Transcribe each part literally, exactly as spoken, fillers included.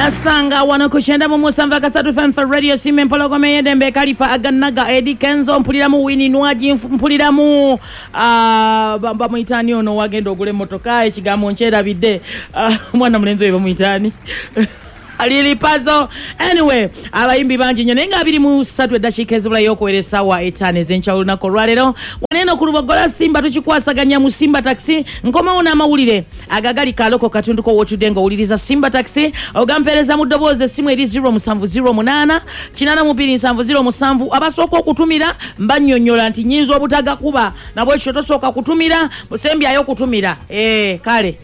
Nasanga wano ku kyenda mu musanvu akasatu F M for Radio Simba Empologoma ey'eddembe Kalifa Aganaga Eddy Kenzo mpuliramu Winnie Nwagi mpuliramu uh, bamuyitaani ono wagenda ogula emmotoka ekigambo nkyerabidde omwana uh, mulenzi oyo bamuyitaani Lili Pazo. Anyway, abayimbi bangi nnyo naye nga abiri mu ssatu eddakiika ezibulayo okuwera essaawa etaano ez'enkya olunaku olwaleero waneeno ku Lubogola Simba tukikwasaganya mu Simba Taxi. Nkomawo n'amawulire agagali kaloko katundu ko wotudde ng'owuliriza Simba Taxi ogampeereza mu ddoboozi essimu eri zero musanvu zero munaana kinaana mu bbiri nsanvu zero musanvu. Abasooka okutumira mbannyonnyola nti nnyinza obutagakuba nabwekityo tosooka kutumira musembyayo okutumira ee kale.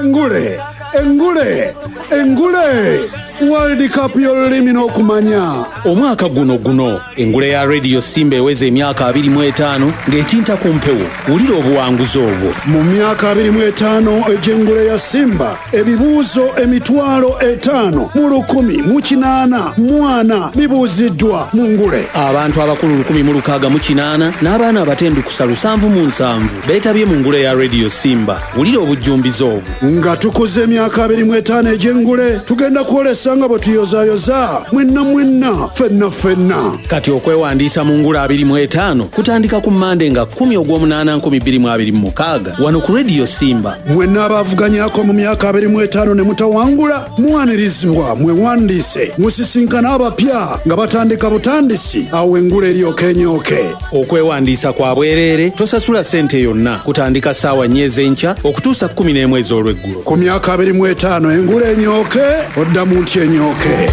Engule, engule, engule World Cup y'olulimi n'okumanya. Omwaka guno guno engule ya Radio Simba eweza emyaka abiri mu etaano ng'etinta ku mpewo. Wulira obuwanguzi obwo. Mu myaka abiri mu etaano egy'engule ya Simba ebibuuzo emitwalo etaano mu lukumi mu kinaana mu ana bibuuziddwa mu ngule. Abantu abakulu lukumi mu lukaaga mu kinaana n'abaana abatendukusa lusanvu mu nsanvu beetabye mu ngule ya Radio Simba. Wulira obujjumbize obwo. Nga tukuze emyaka abiri mu etaano egy'engule tugenda kwolesa nga bwe tuyozaayoza mwenna mwenna ffenna ffenna. Kati okwewandiisa mu ngule abiri mu etaano kutandika ku Mmande nga kkumi ogw'omunaana nkumi bbiri mu abiri mu mukaaga wano ku Radio Simba. Mwenna abaavuganyako mu myaka abiri mu etaano ne mutawangula mwanirizibwa mwewandiise musisinkana abapya nga batandika butandisi awo engule eryoka enyooke. Okwewandiisa kwa bwereere, tosasula ssente yonna, kutandika ssaawa nnya ez'enkya okutuusa kkumi n'emu ez'olweggulo. Ku myaka abiri mu etaano engule enyooke oddamu nti enyooke.